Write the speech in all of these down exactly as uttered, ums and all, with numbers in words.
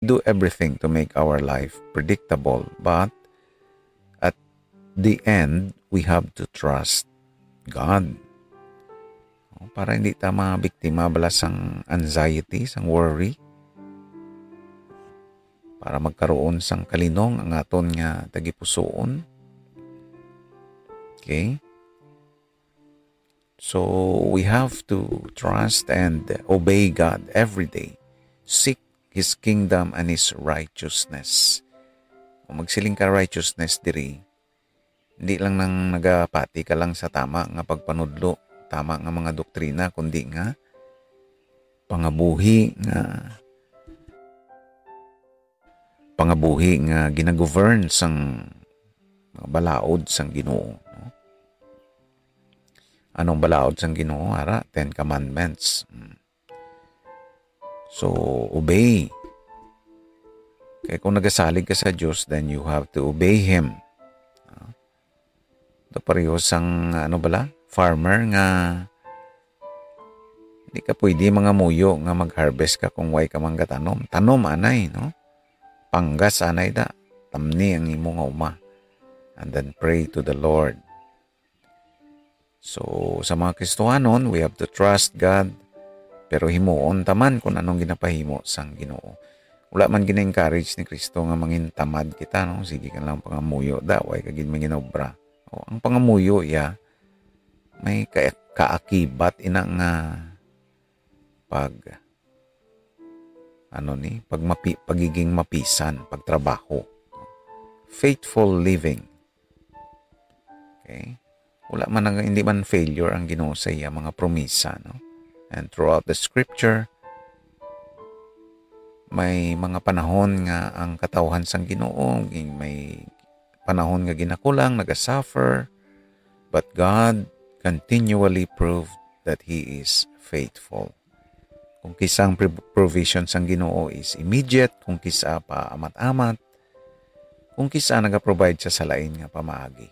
do everything to make our life predictable, but at the end, we have to trust God. O, para hindi ta mabiktima bala sang anxiety, sang worry, para magkaroon sang kalinong ang aton nga tagipusoon. Okay? So, we have to trust and obey God every day. Seek His kingdom and His righteousness. Kung magsiling ka righteousness diri, hindi lang nang nagapati ka lang sa tama nga pagpanudlo, tama nga mga doktrina, kundi nga pangabuhi nga, pangabuhi nga ginagovern sang mga balaod sang Ginoo, no? Anong balaod sang Ginoo? Ara, Ten Commandments. Mm. So, obey. Kay kung nagasalig ka sa Dios, then you have to obey Him. Ah, ito pareho sang, ano bala? Farmer nga hindi ka pwede mangamuyo nga mag-harvest ka kung way ka manggatanom. Tanom anay, no? Panggas anay da. Tamni ang imo nga uma. And then pray to the Lord. So, sa mga Kristohanon, we have to trust God, pero himuon ta man kung anong ginapahimo sang Ginoo. Wala man gina-encourage ni Kristo nga mangintamad kita, no? Sige ka lang pangamuyo da, way ka gid manginobra. O, ang pangamuyo iya, may ka-, kaakibat ina nga pag, ano ni, pag mapi-, pagiging mapisan, pagtrabaho. Faithful living. Okay? Wala man nag-, hindi man failure ang Ginoo sa iya mga promisa, no? And throughout the scripture, may mga panahon nga ang katawhan sang Ginoo, ging-, may panahon nga ginakulang, nagasuffer, but God continually proved that He is faithful. Kung kisa ang pre-, provision sang Ginoo is immediate, kung kisa pa amat-amat, kung kisa nagaprovide siya sa lain nga pamaagi.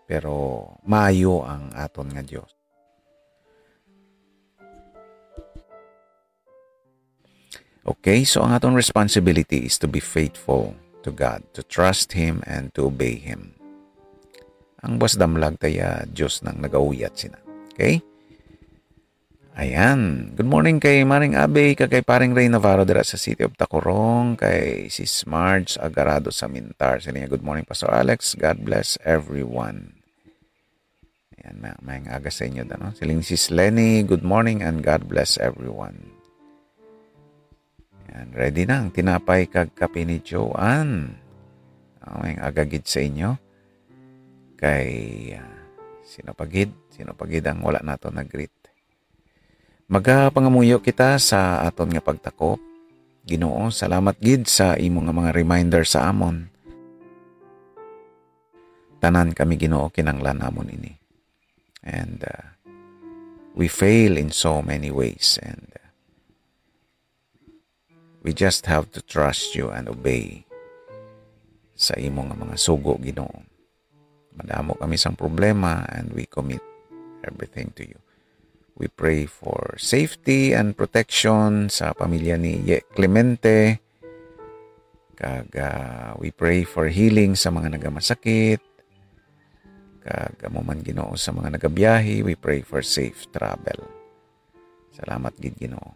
Pero maayo ang aton nga Dios. Okay, so ang aton responsibility is to be faithful to God, to trust Him, and to obey Him. Ang buas damlag ta iya Dios nang nagauyat sina. Okay? Ayan. Good morning kay Maring Abe, kag kay Paring Ray Navarro dira sa City of Tacurong, kay Sis Marge Agarado sa Mintar. Sila niya, "Good morning, Pastor Alex. God bless everyone." Ayan, may, may aga sa inyo, ano? Siling Sis Lenny, "Good morning and God bless everyone." Ayan, ready na ang tinapay kag kape ni Joanne. Oh, may aga gid sa inyo. Kay, ah, sino pa gid? Sino pa gid ang wala nato nag-greet? Magapangamuyo kita sa aton nga pagtakop. Ginoo, salamat gid sa imo nga mga reminder sa amon. Tanan kami, Ginoo, kinanglan namon ini. And, uh, we fail in so many ways. And, uh, we just have to trust you and obey sa imo nga mga sugo, Ginoo. Madamo kami sang problema and we commit everything to you. We pray for safety and protection sa pamilya ni Ye Clemente. Kag, ah, we pray for healing sa mga nagamasakit. Kag amo man, Ginoo, sa mga nagabiyahe, we pray for safe travel. Salamat gid, Ginoo.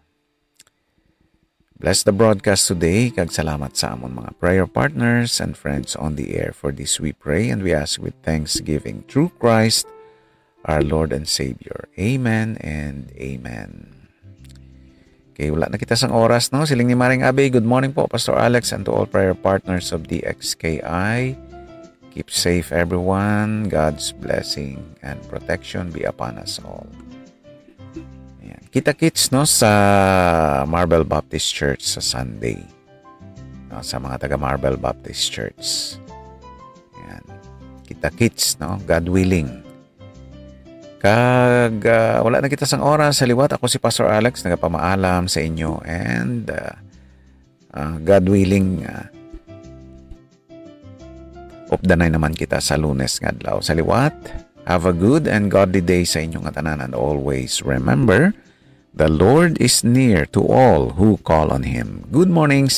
Bless the broadcast today, kag salamat sa amon mga prayer partners and friends on the air. For this we pray and we ask with thanksgiving through Christ, our Lord and Savior. Amen and amen. Okay, wala na kita sang oras, no? Siling ni Maring Abe, "Good morning po, Pastor Alex, and to all prayer partners of D X K I. Keep safe, everyone. God's blessing and protection be upon us all." Ayan. Kita-kits, no, sa Marbel Baptist Church sa Sunday. No, sa mga taga Marbel Baptist Church. Ayan. Kita-kits, no, God willing. Kag, ah, wala na kita sang oras. Sa liwat, ako si Pastor Alex, nagapamaalam sa inyo. And, ah, ah, God willing, ah, updanay naman kita sa Lunes nga adlaw. Sa liwat, have a good and godly day sa inyo nga tanan. And always remember, The Lord is near to all who call on Him. Good morning,